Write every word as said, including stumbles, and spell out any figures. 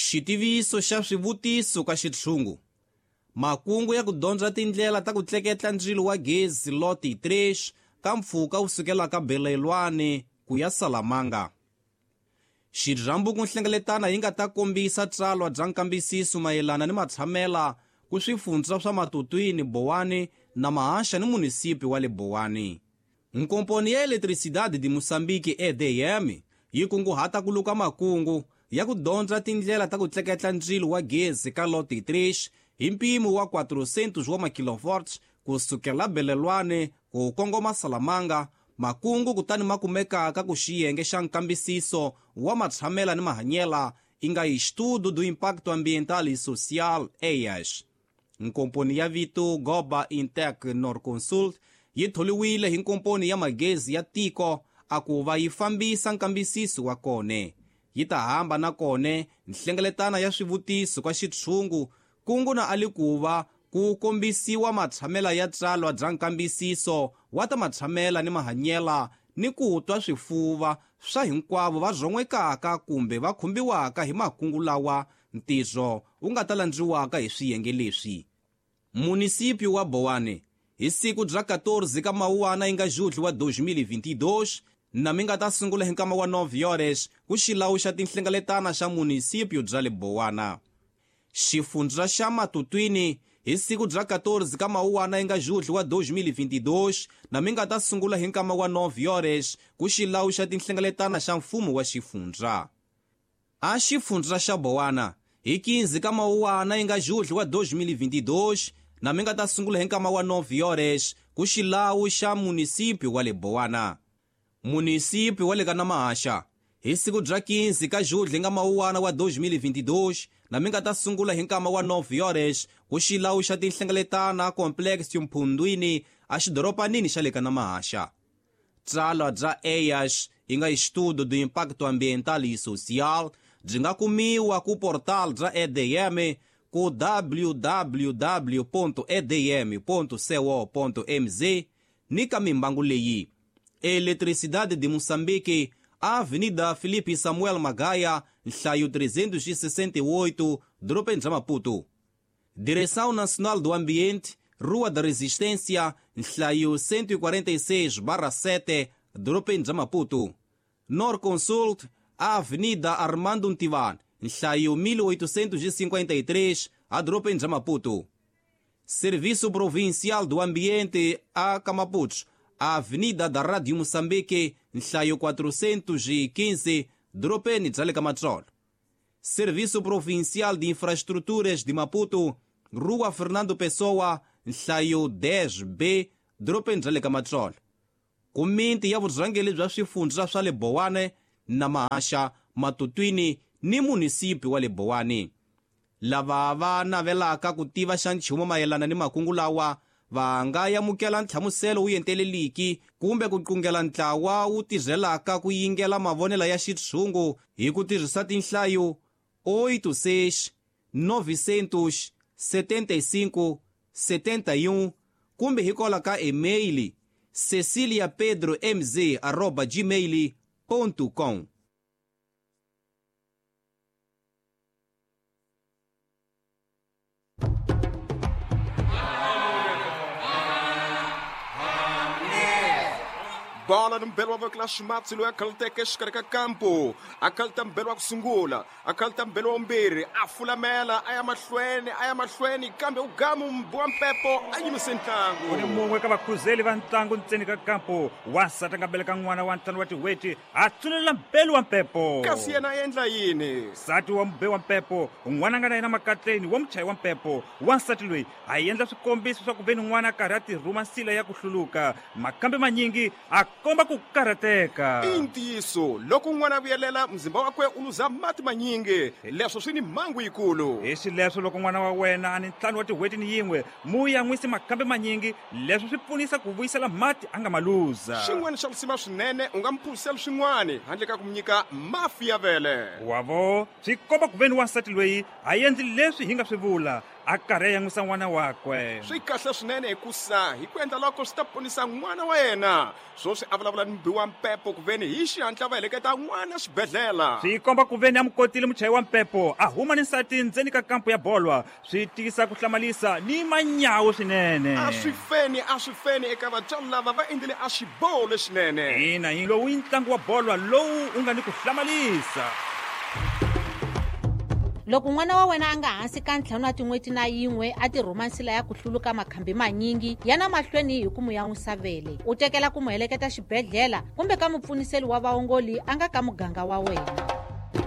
Xitiviso xa swivutiso ka xitshungu. Makungu ya ku dyondza tindlela ta ku tleketla ndzilo wa gezi loti three ka mpfhuka wu sukelaka Belelwane ku ya Salamanga. Xirhambo ku nhlengeletana yi nga ta kombisa tsalwa bya nkambisiso mayelana ni matshamela ku swifundza swa Matutwini, Bowane na Mahaxa ni munisipi wa le Bowane. Nkomponi ya Eletricidade de Moçambique E D M yi kunguhata ku luka makungu ya ku dyondza tindlela ta ku tleketla ndzilo wa gezi ka loti three hi mpimo wa quatrocentos wa makilovolts ku sukela Belelwane ku kongoma Salamanga. Makungu kutani ma kumekaka ku xiyenge xa nkambisiso wa matshamela ni mahanyela i nga Estudo do Impacto Ambiental e Social E I A S. Nkomponi ya vito Goba Intec Norconsult yi tholiwile hi nkomponi ya magezi ya tiko a ku va yi fambisa nkambisiso wa kone. Yi ta hamba na kone nhlengeletana ya swivutiso ka xitshungu kungu na ali ku va ku kombisiwa matshamela ya tsalwa bya nkambisiso wa ta matshamela ni mahanyela ni ku twa swifuva swa hinkwavo va zon'wekaka kumbe va khumbiwaka hi makungu lawa ntirho wu nga ta landziwaka hi swiyenge leswi. Munisipi wa Bowane hi siku bya quatorze ka Mawuwana yi nga Julho wa dois mil e vinte e dois na mi nga ta sungula hi nkama wa nove horas ku xilawu xa tinhlengeletana xa munisipio bya le Bowana. Xifundza xa Matutwini hi siku bya quatorze ka Mawuwana yi nga Julho wa dois mil e vinte e dois na mi nga ta sungula hi nkama wa nove horas ku xilawu xa tinhlengeletana xa mfumo wa xifundza. A xifundza xa Bowana hi quinze ka Mawuwana yi nga Julho wa dois mil e vinte e dois na mi nga ta sungula hi nkama wa nove horas ku xilawu xa munisipio wa le Bowana. Munisipio wa le ka Namahaxa hi siku bya quinze ka Julho nga Mawuwana wa dois mil e vinte e dois na mi nga ta sungula hi nkama wa nove horas ku xilawu xa tinhlengeletana complex Mphundwini a xidoropanini xa le ka Namahaxa. Tsalwa bya E I A S yi nga Estudo do Impacto Ambiental e Social byi nga kumiwa ku portal bya E D M ku w w w ponto e d m ponto co ponto m z ni ka mimbangu leyi: Eletricidade de Moçambique, Avenida Felipe Samuel Magaia, nhlayo trezentos e sessenta e oito, Dorobeni bya Maputo. Direção Nacional do Ambiente, Rua da Resistência, nhlayo cento e quarenta e seis barra sete, Dorobeni bya Maputo. Norconsult, Avenida Armando Ntivan, nhlayo mil oitocentos e cinquenta e três, a Dorobeni bya Maputo. Serviço Provincial do Ambiente, a Camapucho, Avenida da Rádio Moçambique, nhlayo quatrocentos e quinze, Dorobeni bya le ka Matsolo. Serviço Provincial de Infraestruturas de Maputo, Rua Fernando Pessoa, nhlayo dez B, Dorobeni bya le ka Matsolo. Komiti ya vurhangeri bya swifundza swa le Bowane na Mahaxa, Matutwini ni munisipi wa le Bowane. Lava va navelaka ku tiva xa nchumu mayelana ni makungu lawa va nga amukela nhlamuselo wu enteleliki kumbe ku qungela ntlawa wu tirhelaka ku yingela mavonelo ya xitshungu hi ku tirhisa tinhlayo oito seis novecentos setenta e cinco setenta e um kumbe hi kola ka e-mail cecilia pedro mz arroba gmail ponto com. Bola mbelwa va clash matsi loyi a khalteke exikarhi ka kampo a khalta mbelwa ku sungula a khalta mbelwa wumbirhi a fulamela a ya mahlweni a ya mahlweni kambe u gamu wa mpepo a yimise ntlangu. U ni mun'we ka vakhuzeli va ntlangu ntseni ka kampo wansati a nga beleka n'wana wa ntlhanu wa tin'hweti a tsunelela mbelu wa mpepo. Kasi yena a endla yini? Nsati wa mube wa mpepo n'wana a nga na yena makatleni wa muchayi wa mpepo wansati loyi a endla swikombiso swa ku ve ni n'wana a karhi a tirhuma nsila ya ku hluluka makambe manyingi a komba ku karhateka. I ntiyiso loko n'wana a vuyelela mzimba wakwe u luza mati manyingi leswo swi ni mhangu yikulu. Hi xileswo loko n'wana wa wena a ni ntlhanu wa tin'hweti ni yin'we mu yan'wisi makambe manyingi leswo swi pfunisa ku vuyisela mati a nga ma luza. Xin'wana xa risima swinene u nga mu phuzisela swin'wana handle ka ku mu nyika mafi ya vele. Wavo swi komba ku ve ni wansati loyi a endli leswi hi nga swi vula a karhi a yan'wisa n'wana wakwe. Swi kahle swinene hikusa hi ku endla loko swi ta ponisa n'wana wa yena. Swoswi a vulavula ni mubi wa mpepo ku veni hi xihatla va heleketa n'wana xibedhlele. Swi komba ku veni a mu kotile muchayi wa mpepo a huma ni nsati ndzeni ka kampu ya bolwa. Swi tisa ku hlamalisa ni manyawu swinene. A swi feni, a swi feni eka vatswari lava va endlile a xiboho lexinene. Ina, hi lowu i ntlangu wa bolwa lowu u nga ni ku hlamalisa. Loko n'wana wa wena a nga hansi ka ntlhanu wa tin'hweti na yin'we a ti rhuma nsila ya ku hluluka makhambi manyingi, yana mahlweni hi ku mu yan'wisa vele. U tekela ku mu heleketa xibedhlele kumbe ka mupfuniseli wa vaongoli a nga ka muganga wa wena.